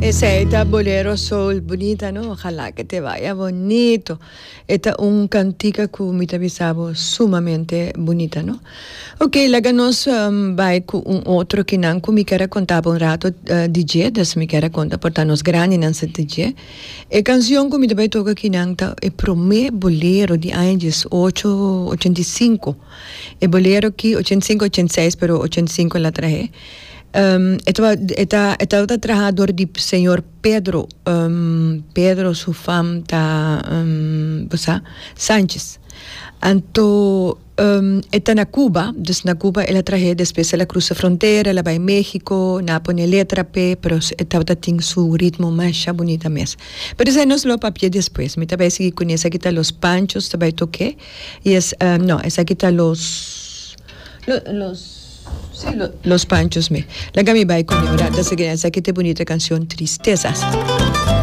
Esei ta bolero soul bunita no ojalá que te vaya bonito e ta un cantica cu mi ta bisa bo sumamente bunita no ok laga nos bai cu un otro kinan cu mi kier a conta bo un rato di dje des mi kier a conta por ta nos grandinan sa di dje e cancion cu mi ta bai toca kinan ta e prome bolero di aña diesocho ochenta i sinku e bolero ki ochenta i sinku ochenta i seis pero ochenta i sinku el a trahe. E taba e ta e tabata traha dor di señor Pedro Pedro su fam ta bo sa Sanchez anto e ta na Cuba dus na Cuba el a trah'é despues el a crusa frontera el a bai Mexico nan a pone letra p'e pero e tabata tin su ritmo masha bunita mes pero esei nos lo papia despues mi ta bai sigui kuné esaki ta Los Panchos ta bai tok'é y es no esaki ta los los Sí, los panchos me. Laga mi bai con e ora. Ta sigui esaki ta e bunita cancion Tristezas.